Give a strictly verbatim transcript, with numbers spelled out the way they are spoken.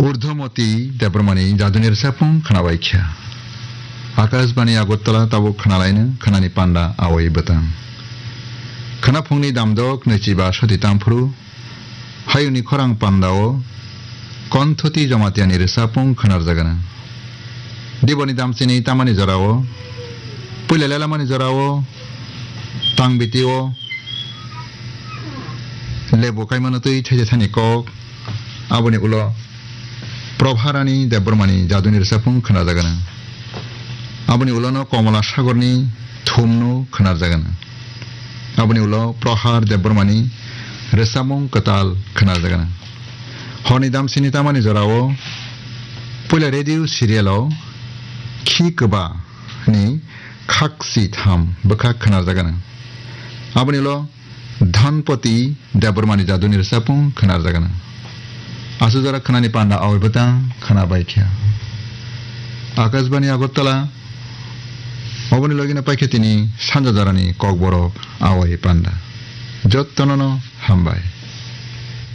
Urdhomoti Debbarmani jaduni rwchapmung khwnabaikha. Akashbani Agartala tabuk khwnalaino khwnani panda awai bwtang. Khwnaphungni damdok nwichiba soti tamphuru, hayungni khorang pandao Konthoti Jomatiani rwchapmung khwnarjagano. Diboni damchini tamani jorao, puila lelamani jorao, tangbitio, lebu kaimano twi thaisa thani kok, aboni ulo Probharani Debbarmani jaduni rwchapmung khwnarjagano. Aboni ulono Komala Sagorni thumno khwnarjagano. Aboni ulo Prohar Debbarmani rwchapmung kwtal khwnarjagano. Horni damsini tamani jorao puila radio serialo Khi Kwba ni khak si tham bwkha khwnarjagano. Aboni ulo Dhanpati Debbarmani jaduni rwchapmung khwnarjagano. Aswk jora khwnani panda awai bwtang khwnabaikha. Akashbani Agartala, oboni logino paikha tini sanja jorani kokborok awai panda. Jottonono hambai.